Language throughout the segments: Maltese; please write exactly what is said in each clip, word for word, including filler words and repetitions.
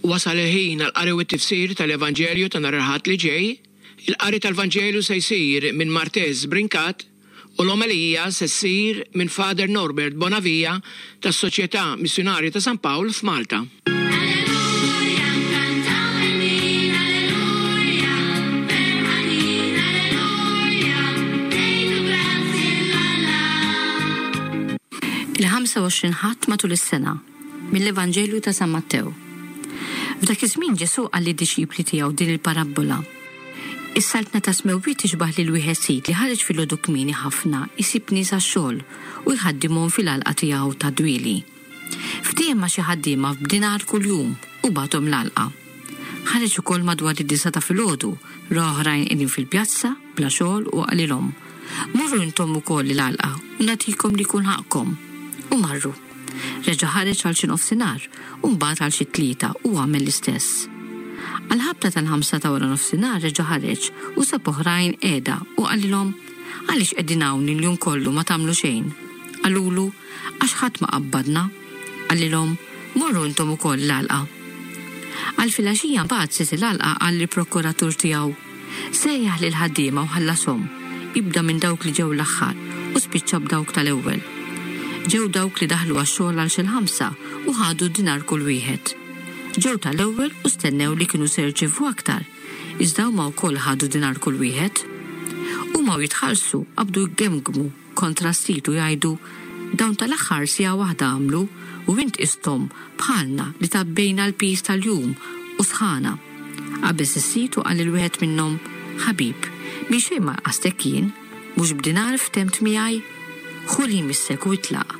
Wasal il-ħin għall-qari u t-tifsir tal-Evanġelju ta' nhar il-Ħadd li ġej. Il-qari tal-Vanġelu se jsir minn Martez Brincat u l-omelija se ssir minn Father Norbert Bonavia tas-Soċjetà Missjunarja ta' San Pawl f'Malta. Alleluja, kantaw il-min, alleluja, ferħanin, alleluja, ngħidu grazzi 'l Alla. Il-ħamsa u għoxrin Ħadd matul is-sena, mill-Evanġelju ta' San Mattew. F'dak iż-żmien Ġesù qal lid-dixxipli tiegħu din il-parabbola. Is-saltna tas-smewwiet tixbah lil wieħed sid li ħareġ filgħodu kmieni ħafna jsib nies għax-xogħol u jħaddimhom fil-għalqa tiegħu tad-dwieli. Ftiehem ma' xi ħaddiema b'dinar kuljum u bagħathom l-għalqa. Ħareġ ukoll madwar id-disgħa ta' filgħodu, ra oħrajn qegħdin fil-pjazza bla xogħol u qalilhom: Morru intom ukoll l-għalqa u nagħtikom li jkun ħaqqkom. U marru. Reġa' ħareġ għal xi nofsinhar u mbagħad għal xi tlieta u għamel l-istess. Għal-ħabta tal-ħamsa ta' wara nofsinhar reġa' ħareġ u sab oħrajn qiegħda u qalilhom: Għaliex qegħdin hawn il-jum kollu ma tagħmlu xejn? Qalulu: Għax ħadd ma qabbadna. Qalilhom: Morru intom ukoll l-għalqa. Għal filgħaxija mbagħad sid il-għalqa qal lill-prokuratur tiegħu: Sejjaħ lil ħaddiema u ħallashom, ibda minn dawk li ġew l-aħħar u spiċċa b'dawk tal-ewwel. Ġew dawk li daħlu għax-xogħol għal xi l-ħamsa u ħadu dinar kull wieħed. Ġew tal-ewwel u stennew li kienu se jirċievu aktar, iżda huma wkoll ħadu dinar kull wieħed. Huma u jitħallsu qabdu jgemgmu kontra s-sid u jgħidu: Dawn tal-aħħar siegħa waħda għamlu u int qisthom bħalna li tgħabbejna l-piż tal-jum u sħana. Qabeż is-sid u qal lil wieħed minnhom: Ħabib, minn xejn ma naqqastek jien, mhux b'dinar ftemt miegħi? Ħu li jmissek u itlaq.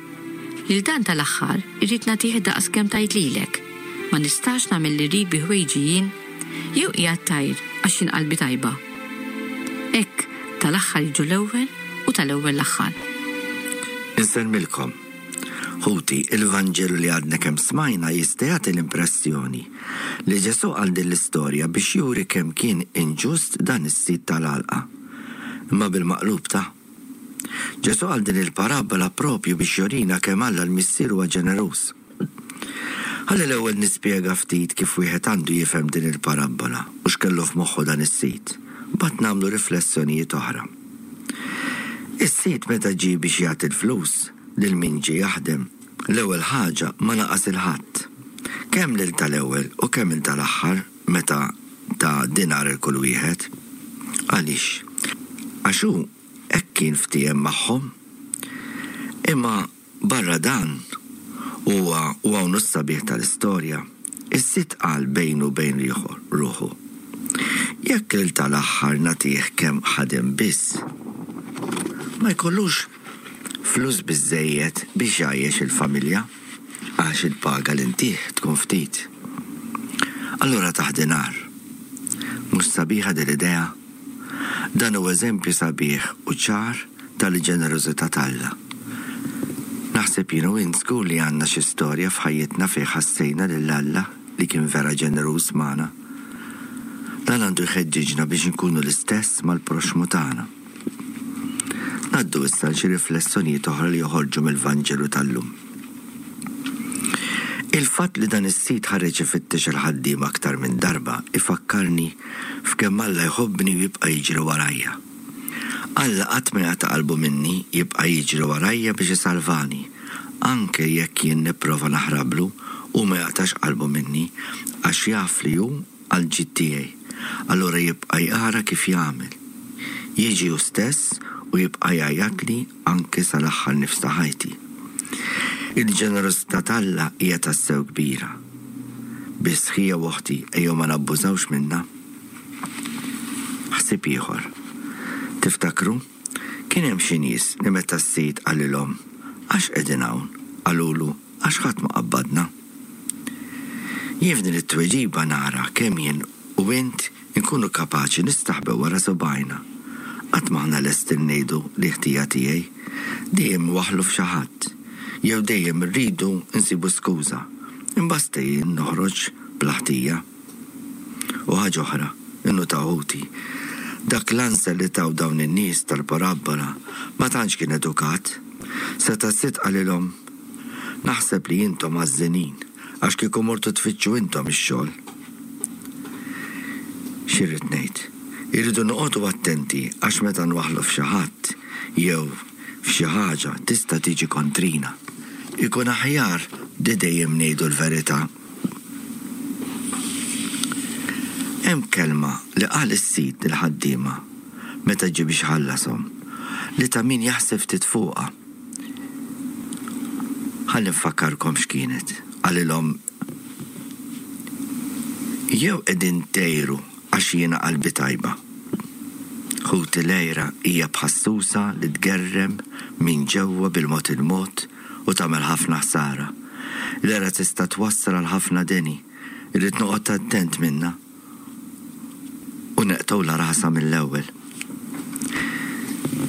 Lil dan tal-aħħar irrid nagħtih daqs kemm tajt lilek. Ma nistax nagħmel li rrid bi ħwejġi jien, jew qiegħed tgħir għax jien qalbi tajba. Hekk tal-aħħar jiġu l-ewwel u tal-ewwel l-aħħar. Insellmilkom. Ħuti, il-Vanġelu li għadna kemm smajna jista' jagħti l-impressjoni li Ġesù qal din l-istorja biex juri kemm kien inġust dan is-sid tal-għalqa. Imma bil-maqlub ta' Ġesù qal din il-parabola propju biex jurina kemm Alla l-Missier huwa ġeneruż. Ħalli l-ewwel nispjega ftit kif wieħed għandu jifhem din il-parabola u x'kellu f'moħħu dan is-sid. Mbagħad nagħmlu riflessjonijiet oħra. Is-sid meta ġie biex jagħti l-flus lil min ġie jaħdem, l-ewwel ħaġa ma naqas lil ħadd. Kemm lil tal-ewwel u kemm lil tal-aħħar meta ta dinar il kull wieħed. Għaliex? Għax hu hekk kien ftiehem magħhom. Imma barra dan huwa u hawn is-sabiħ tal-istorja, is-sid qal bejnu bejn ruħu: Jekk lil tal-aħħar nagħtih kemm ħadem biss, ma jkollux flus biżżejjed biex jgħajjex il-familja, għax il-paga li ntih tkun ftit. Allura tah dinar. Mhux sabiħa din l-idea? Dan hu eżempju sabiħ u ċar tal-ġenerożità t'Alla. Naħseb jien u int żgur li għandna xi storja f'ħajjitna fejn ħassejna lil Alla li kien vera ġeneruż magħna. Dan għandu jħeġġiġna biex inkunu l-istess mal-proxxmu tagħna. Ngħaddu issa xi riflessjonijiet oħra li joħorġu mill-Vanġelu tal-lum. Il-fatt li dan is-sid ħareġ ifittex il-ħaddiem aktar minn darba ifakkarni f'kemm Alla jħobbni u jibqa' jiġri warajja. Alla qatt ma jaqta' qalbu minni, jibqa' jiġri warajja biex isalvani, anke jekk jien nipprova naħrablu u ma jaqtax qalbu minni għax jaf li hu għall-ġid tiegħi. Allura jibqa' jara kif jagħmel. Jiġi hu stess u jibqa' jgħajjatli anke sal-aħħar nifs ta' ħajti. Il-ġenerożità t'Alla hija tassew kbira. Biss ħija u oħti ejjew ma nabbużawx minnha. Ħsieb ieħor. Tiftakru? Kien hemm xi nies li meta s-sid qalilhom għax qegħdin hawn, qalulu għax ħadd ma qabbadna. Jien f'din it-tweġiba nara kemm jien u int inkunu kapaċi nistaħbew wara subgħajna. Qatt m'aħna lesti ngħidu li ħtija tiegħi, dejjem waħlu f'xi ħadd, jew dejjem irridu nsibu skuża, imbasta jien noħroġ bla ħtija. U ħaġa oħra, innutaw ħuti, dak l-answer li taw dawn in-nies tal-parabbola ma tantx kien edukat. Seta' s-sid qalilhom, naħseb li intom għażżenin Għax kieku mortu tfittxu intom ix-xogħol. X'irrid ngħid? Irridu noqogħdu attenti għax meta nwaħħlu f'xi ħadd jew f'xi ħaġa tista' tiġi kontrina. Ikun aħjar li dejjem ngħidu l-verità. Hemm kelma li qal is-sid lill-ħaddiema meta ġie biex ħallashom li ta' min jaħseb ftit fuqha. Ħalli nfakkarkom x'kienet. Qalilhom jew qegħdin tgħiru għax jiena qalbi tajba. Ħuti, l-għira hija bħas-susa li tgerrem minn ġewwa bil-mod il-mod u tagħmel ħafna ħsara. L-għira tista' twassal għal ħafna deni, irrid noqgħod attent minnha u neqtgħulha rasha mill-ewwel.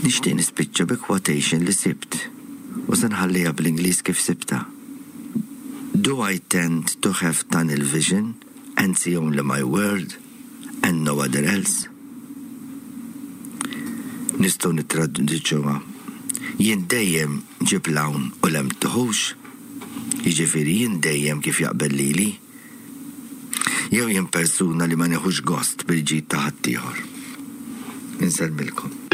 Nixtieq nispiċċa bi quotation li sibt u se nħalliha bl-Ingliż kif sibtha. "Do I tend to have tunnel vision and see only my world and no other else?" Nistgħu nittraduċuha. Jien dejjem ġib l-hawn u 'l hemm tiħux? Jiġifieri jien dejjem kif jaqbel lili? Jew jien persuna li ma nieħux gost bil-ġid ta' ħaddieħor? Insellmilkom.